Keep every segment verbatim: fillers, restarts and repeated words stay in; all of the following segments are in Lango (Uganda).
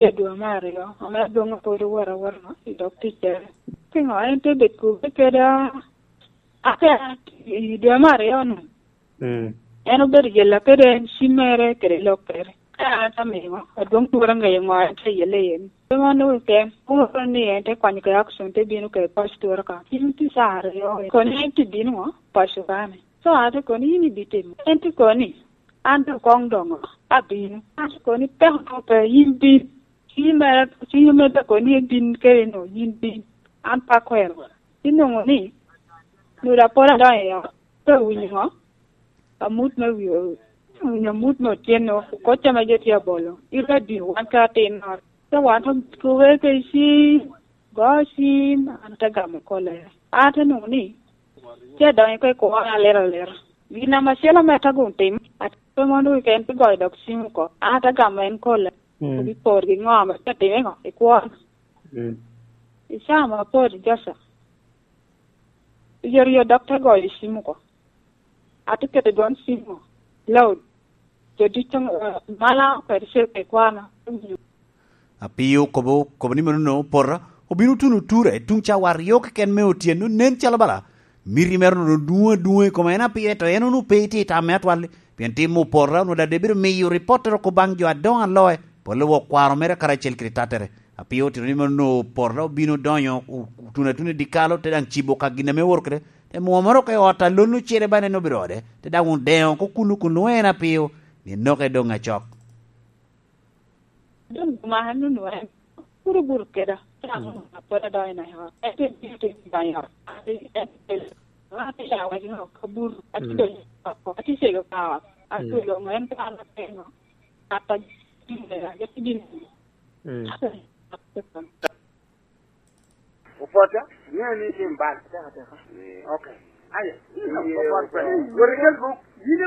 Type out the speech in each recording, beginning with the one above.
i dwe me aryo, ame adwoŋ apwod owot awota i dog ticcere. Piŋo en te bedo kube keda aka i dwe me aryo-nu? Mm. En obedo jella kede en cimmere kede lokkere. Ka an ata miŋo, adwoŋ twora ŋeyo ŋo en te yelle iye-ni. Pe man onwoŋo keken, owoto ni en te kwanyo ka i action, te bino ka i pac twora ka. Cim tye ca aryo, koni en te bino ŋo? Paco kani. So, an te koni, "In ibitimo." En te koni, "An doŋ koŋ doŋo, abino." An te koni, "Peko doŋ pe, yin bin." Cim mere, cim mere te koni, "En bin kede no, yin bin." An pe akwero. Inwoŋo ni, nwodo apol adonyo i ot, pe awinyo ŋo? Amut me wi-, awinyo amut me otyeno, kocca ame jo tye abolo, i radio, wan ka atin ot. Te wan otuke kede cim, go cim, an te gamo kollere. An te nwoŋo ni, tye adonyo oko i kwo aliro alira. Gin ame acel ame te gum tim, ate mondo keken te goyo dok cim oko. An te gamo en kollere. Mm. Obi por gi ŋo ame te time ŋo i kwo. Mm. I caa ame apor i Joca, i oryo dok te goyo cim oko. Ate keto dwon cim oko, loud. Jo ducu, eh, mala kede cel kede kwana. Apio okobo, okobo ni mano opota, obino tuno ture tuŋ cawa aryo keken me otyeno, nen calo bala miti mere onwoŋo dwoŋ adwoŋa i kome en apio, ento en onwoŋo pe itye i tamme atwal, pien tim opota onwoŋo daŋ doŋ ebedo miyo ripottere oko baŋ jo adoŋo aloe, pole wok kwaro mere karacel kede tattere. Apio otito ni mano opota obino donyo, o-, otuno atuna i dyekal, te daŋ cibo ka gin ame owoto kede, te mwomere oko i ot a lon ocele ba en obedo ode, te daŋ odeŋo oko kuno kun lwoŋo en apio, ni enoke doŋ acok. Doŋ gumaka nunu en, puro bur keda, cak nunu apwod adonyo i ot. Ento en bino te donyo i ot. Ate, en, en, ate ya wek ŋo, ka bur, ate donyo oko, ate cego ka ot. Ate doŋ en kwan apenyo, kata gin, ate gin. Ate, ate, Opota, ŋeo ni tim bal. Ateka, ateka. Eh, ok. Aya. Opot pe. Wot ikel buk.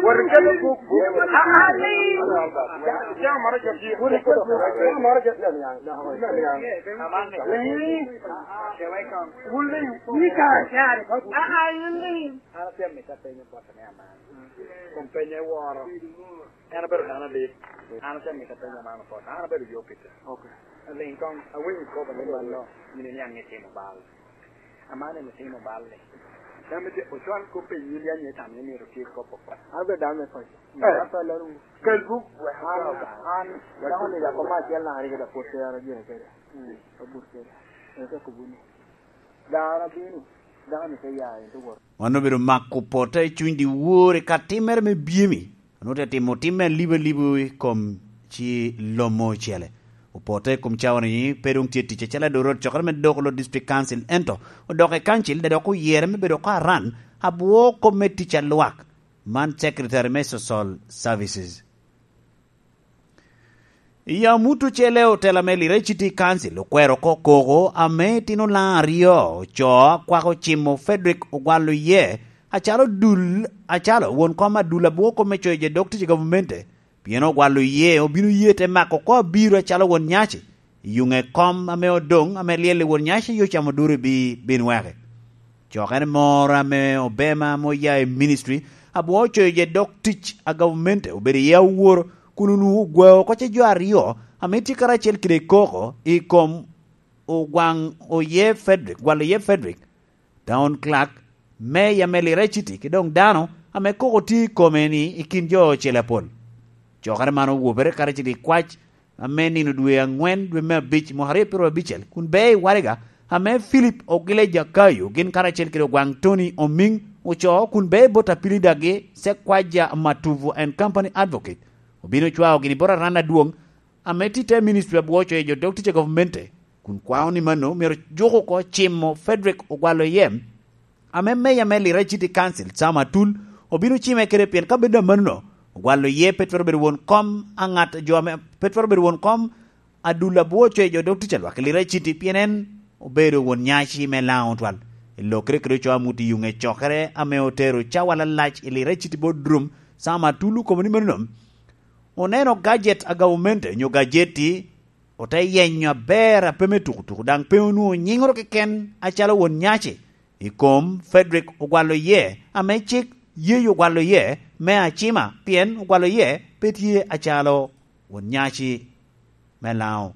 Wot ikel buk. Ah, ah, ni. Jam moro jam. Wot ikel buk. Jam moro jam. Wulling. Ni ka, ka. Ah, ah, wulling. An atye amito apenyo bot me aman. Kom penye woro. En abedo dano adit. An atye amito apenyo man opot. An abedo yo Peter. Ok. Aliŋ koŋ, awinyo kop ame mano, yin iniaŋ itimo bal. Aman en otimo bal-li. Dano me tye, ocwal kop pe yin ya nye tam ni myero tye kop opot. An abedo dano me paco. Eh. An pe alaro wu. Kel buk. An, an, dano ni dako ma acel na aryo da pwod tero gire kede. Mm. Obut kede. En te kubo ni, dano abino, dano ni te ya, en te wot. Wan obedo mako pota i cuny dyewor i ka timmere me byemi. Onwoŋo te timo timme alibo alibo i kom ci lommo ocele. Opote i kom cawa-ni pe doŋ tye tic acalo adorot cokere me doko lo District Council, ento odok i kancil, daŋ dok oyere me bedo oko aran abwo kop me tic a lwak, man Secretary me Social Services. I amut ocele, otela me Lira City Council okwero oko koko ame itino laŋ aryo ocoo akwako cimo Frederick Ogwal Oyee acalo dul, acalo won kom adul abwo kop me coyo jo dok tic i gavumenti. Pien Ogwal Oyee obino ye te mako oko abiro acalo won nyaci, i yuŋe kom ame odoŋ ame lyel i won nyaci yo camo duru i bi-, bin weke. Cokere moro ame obema ame oya i ministry abwo ocoyo je dok tic a gavumenti obedo iye aworo, kun onwoŋo ogwao oko ce jo aryo ame tye karacel kede koko i kom Ogwaŋ Oye Frederick, Gwal Oye Frederick, Town Clerk, Meya me Lira City, ki doŋ dano ame koko tye i kome ni i kin jo ocele apol. Cokere man owobere karacel i kwac ame nino dwe aŋwen, dwe me abic, mwaka aryo pyeraryo abicel, kun bea i waraga ame Philip Ogile Jakayo gin karacel kede Ogwaŋ Tony Omiŋ ocoo, kun bea i bot apili dagi Sekwaja Matuvu and Company Advocate obino cwao gini bot aran adwoŋ ame tye i te ministry abwo coyo jo dok tic a gavumenti, kun kwao ni mano myero juk oko cimo Frederick Ogwalo Yem, ame meya me Lira City Council, Sam Atul, obino cime kede, pien ka bedo amannono, Ogwalo Yee pe twero bedo won kom a ŋat jo ame, pe twero bedo won kom adul abwo coyo jo dok tic a lwak i Lira City, pien en obedo won nyaci me Laŋo twal. I lokere kede ocoo amut i yuŋe cokere ame otero cawa lalac i Lira City Boardroom, Sam Atul okobo ni manono, oneno gajet a gavumenti onyo gajeti, ote yenyo aber a pe me tukutuku, daŋ pe onwoŋo nyiŋoro keken acalo won nyaci i kom Frederick Ogwalo Yee, ame cik yeyo Ogwalo Yee me acima, pien Ogwalo Yee pe tye acalo won nyaci me Laŋo.